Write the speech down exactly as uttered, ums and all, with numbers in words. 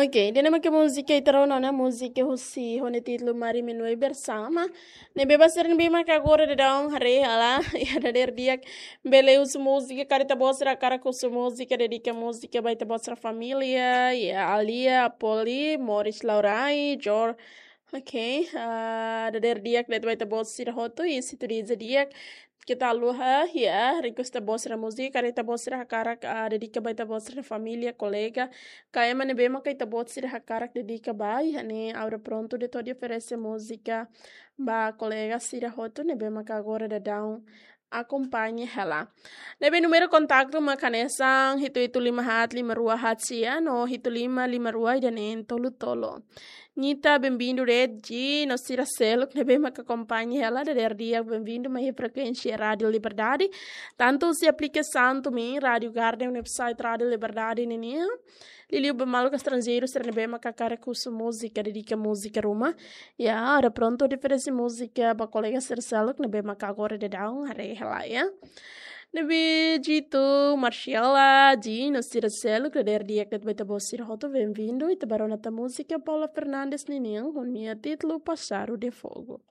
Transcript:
Ok, ida-ne'e mak múzika ita rona ona, múzika husi ho nia títulu Mari Menue Bersama. Ne'ebé ba sira ne'ebé maka agora daudaun haree hela, iha dadeer di'ak bele husu múzika, karik ita-boot sira hakarak husu múzika, dedika múzika ba ita-boot sira família, iha Alia, Apoli, Morris Laurai, Jor. Ok, ah, dadeer di'ak de'it ba ita-boot sira hotu, i se tudu di'ak, keta haluha, iha, request ita-boot sira múzika, karik ita-boot sira hakarak, ah, dedika ba ita-boot sira família, kolega, ka ema ne'ebé maka ita-boot sira hakarak dedika ba, iha ne'e ha'u prontu de'it hodi oferese múzika ba kolega sira hotu ne'ebé maka agora daudaun akompaña hela. Ne'ebé númeru kontaktu mak hanesan hitu hitu lima haat lima rua haat sia no hitu lima lima rua ida neen tolu tolu. Nita, benvindu de'it, Ji, no sira seluk ne'ebé maka akompaña hela, dadeer di'ak benvindu mai iha frekuénsia Rádio Liberdade. Tantu husi aplikasaun TuneIn, Rádio Garden, website Rádio Liberdade ninian. Liuliu ba maluk estranjeiru sira ne'ebé maka hakarak husu múzika, dedika múzika ruma. Iha, ha'u prontu hodi oferese múzika ba kolega sira seluk ne'ebé maka agora daudaun haree hela, iha. Ne'ebé Jitu, Marcela, Ji, no sira seluk, dadeer di'ak de'it ba ita-boot sira hotu, benvindu, ita bá rona tan múzika Paula Fernandes ninian, ho nia títulu Pássaro de Fogo.